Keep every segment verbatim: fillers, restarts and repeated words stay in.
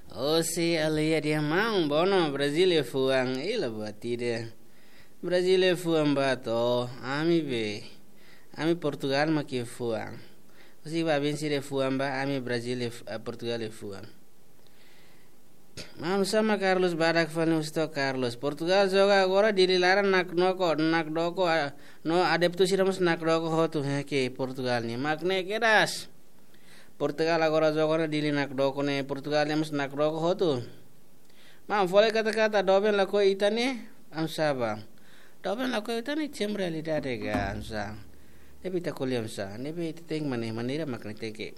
Osi alia dia maun, bono Brazil nia fuan, ila buat ida. Brazil nia fuan ba to, ami be. Ami Portugal mak nia fuan. Osi ba bin sira fuan ba, ami Brazil nia fu-, eh, Portugal nia fuan. Maun sama Carlos badak fali husu to Carlos. Portugal joga agora Dili laran nakdoko, nakdoko, ah, no adeptu sira mós nakdoko hotu, he ke Portugal nian. Mak ne'e kedas. Portugal agora joga ona Dili nakdoko ne'e, Portugal nian mós nakdoko hotu. Maun, fó lai kata-kata doben lakohi ita-nia, oinsá ba. Doben lakohi ita-nia, temi realidade ga, oinsá. Ne'ebé ita ko'alia oinsá, ne'ebé ita tenke mane-, maneira mak ne'e tenke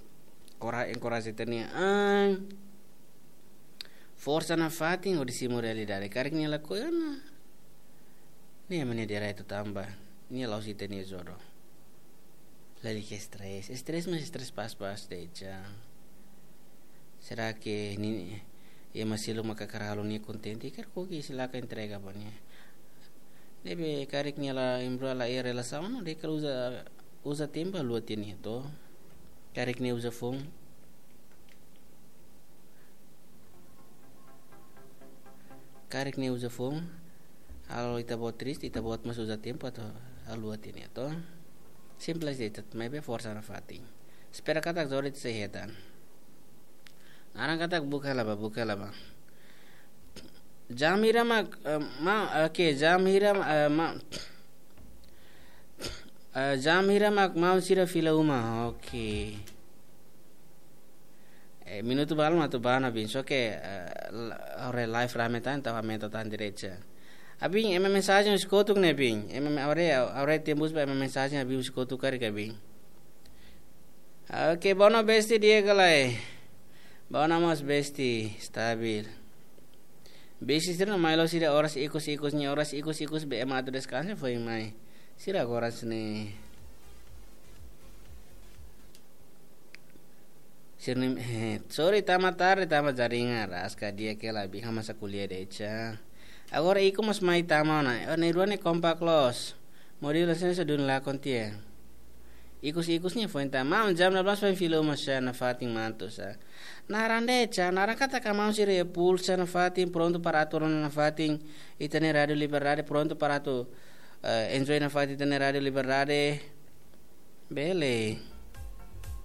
kora-, enkoraja ita-nia an. Forsa nafatin hodi simu realidade. Karik nia lakohi ona, nia mak nia direitu tanba nia la'ós ita-nia jodoh. Lalika estrés. Estrés, mas estrés pas-pas de'it. Será que nia, ema seluk mak hakarak halo nia kontente, karik oke, silakan entrega ba nia. Ne'ebé karik nia la embrulha la iha relasaun, nia hakarak uza, uza tempu haluha tiha nia to. Karik nia uza foun. Karik nia uza foun, halo ita-boot triste, ita-boot mós uza tempu atu haluha tiha nia to. Simples de'it, maibé forsa nafatin. Espera katak jodoh ita sei hetan. Naran katak buka hela ba, buka hela ba. Jam hira mak, eh, ma, oke, jam hira, eh, ma, eh, jam hira mak maun sira fila uma, oke. Eh, minutu balu mak atu bá ona, bin, só ke, eh, la-, ora live rame tan, tava mento tan direita. Abin, ema mensajen husi kotuk ne'e, bin. Ema me-, ora, ora tembus ba ema mensajen, abin, husi kotuk karik, abin. Oke, bono besti di'ak ka lae. Bono mós besti, stabil. Besti sira mai loos sira oras ikus-ikus nian, oras ikus-ikus be ema atu deskansa foin mai. Sira agora sini. Sira ne'e, eh, sorry, tama tarde, tama jaringan, raska di'ak ka lae, bin hamasa ko'alia de'it. Agora ikus mós mai tama ona. Oh, ne'e rua ne'e kompak loos. Modelo sensor dun la kontia. Ikus-ikus nia foin tama. Maun, jam dua belas foin fila uma sá, nafatin mantu sá. Naran de'it, naran katak maun sira iha pool sá nafatin, prontu para atu rona nafatin ita-nia Rádio Liberdade, prontu para atu, eh, enjoy nafatin ita-nia Rádio Liberdade. Bele.